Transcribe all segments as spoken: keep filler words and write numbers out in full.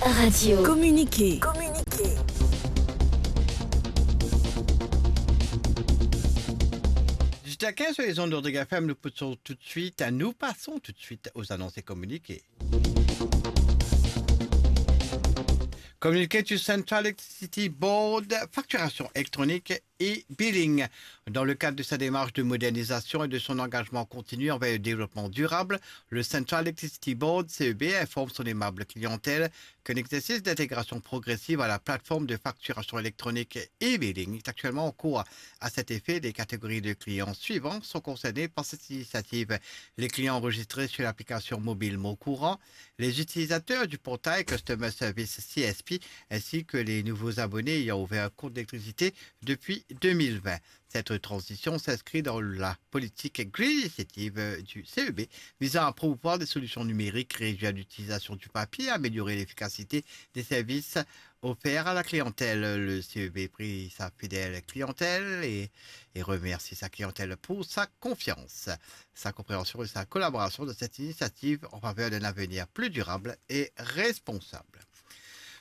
Radio. Communiqué. Communiqué. Jusqu'à quinze sur les ondes de Rodrigue F M, nous poussons tout de suite, nous passons tout de suite aux annonces et communiqués. Communiqué du Central Electricity Board, facturation électronique e-billing. Dans le cadre de sa démarche de modernisation et de son engagement continu envers le développement durable, le Central Electricity Board, C E B, informe son aimable clientèle qu'un exercice d'intégration progressive à la plateforme de facturation électronique e-billing est actuellement en cours. À cet effet, les catégories de clients suivantes sont concernées par cette initiative : les clients enregistrés sur l'application mobile Mon Courant, les utilisateurs du portail Customer Service C S P, ainsi que les nouveaux abonnés ayant ouvert un compte d'électricité depuis deux mille vingt. Cette transition s'inscrit dans la politique Green Initiative du C E B visant à promouvoir des solutions numériques, réduire l'utilisation du papier, améliorer l'efficacité des services offerts à la clientèle. Le C E B prie sa fidèle clientèle et, et remercie sa clientèle pour sa confiance, sa compréhension et sa collaboration dans cette initiative en faveur d'un avenir plus durable et responsable.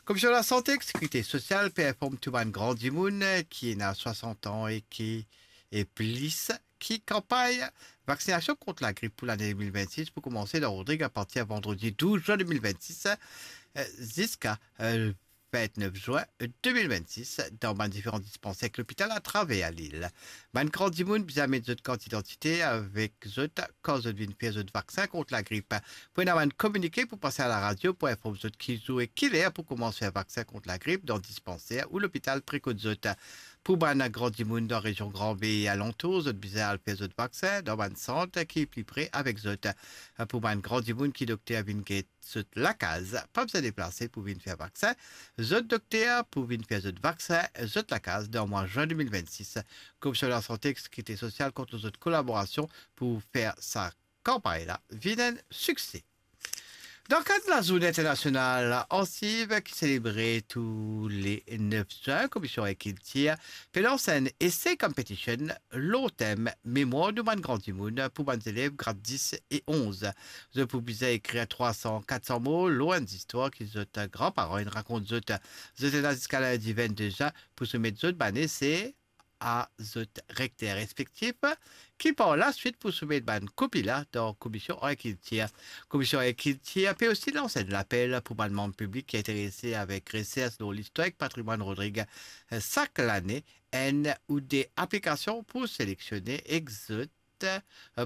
Komisyon Lasante ek Sekirite Sosial pe inform tou bann gran dimoun ki ena swasant an e ki, e plis, ki kanpagn vaksinasion kont lagrip pou lane de mil vennsis pou koumanse dan Rodrig apartir vandredi douz zin de mil vennsis, eh, ziska, eh, vintnef zin de mil vennsis dan bann diferan dispanser ek lopital atraver lil. Bann gran dimoun bizin met zot kart idantite avek zot kan zot vinn fer zot vaksin kont lagrip. Pou ena bann kominike pou pase a laradio pou inform zot ki zour e ki ler pou koumans fer vaksin kont lagrip dan dispanser ou lopital pre kot zot. Pou bann gran dimoun dan rezion Gran Be e alantour, zot bizin al fer zot vaksin dan bann sant ki pli pre avek zot. Pou bann gran dimoun ki dokter vinn get zot lakaz, pa bizin deplase pou vinn fer vaksin. Zot dokter pou vinn fer zot vaksin zot lakaz dan mwa zin de mil vennsis. Komisyon Lasante ek Sekirite Sosial kont lor zot kolaborasion pou fer sa kanpagn la vinn enn sikse. Dan kad Lazourne Internasional Ansiv ki selebre tou le nef zin, Komisyon Agrikilte pe lans enn essay competition lor tem Memwar nou bann gran dimoun pou bann zelev grad dis e onz. Zot pou bizin ekrir trwa san, kat san mo lor enn zistwar ki zot gran paran inn rakont zot. Zot ena ziska lindi vennde zin pou soumet zot bann ese a zot rekter respektif, ki par laswit pou soumet bann kopi la dan Komisyon Agrikilte. Komisyon Agrikilte pe osi lans enn lapel pou bann manm piblik ki interese avek resers lor listwar ek patrimwann Rodrig. Sak lane, enn ou de aplikasion pou seleksionnen ek zot, eh,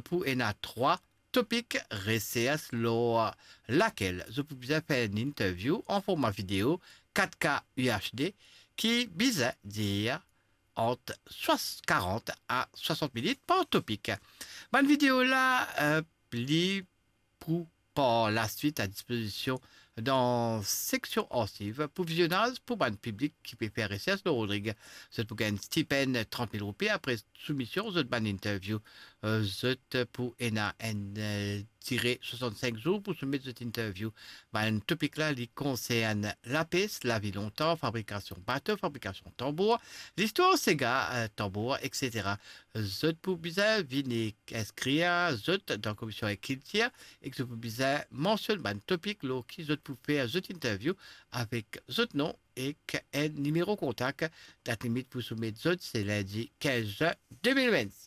pou ena trwa topik resers lor lakel zot pou bizin fer enn interview an forma video kat K U H D ki bizin dir ant swas-, karant a swasant minit par topik. Bann video la, eh, li pou par laswit a dispozision dan seksion Ansiv pou vizionaz pou bann piblik ki pe fer resers lor Rodrig. Zot pou gagn stipenn trant mil roupi apre soumision zot bann interview. Eh, zot pou ena enn, eh, dire swasant-sink zour pou soumet zot interview. Bann topik la, li konsern lapes, lavi lontan, fabrikasion bato, fabrikasion tanbour, listwar sega, eh, tanbour, et cetera. Zot pou bizin vinn ek inskrir zot dan Komisyon Agrikilte ek zot pou bizin mansionn bann topik lor ki zot pou fer zot interview avek zot nom ek enn nimero kontak. Dat limit pou soumet zot se lindi kinz zin de mil vennsis.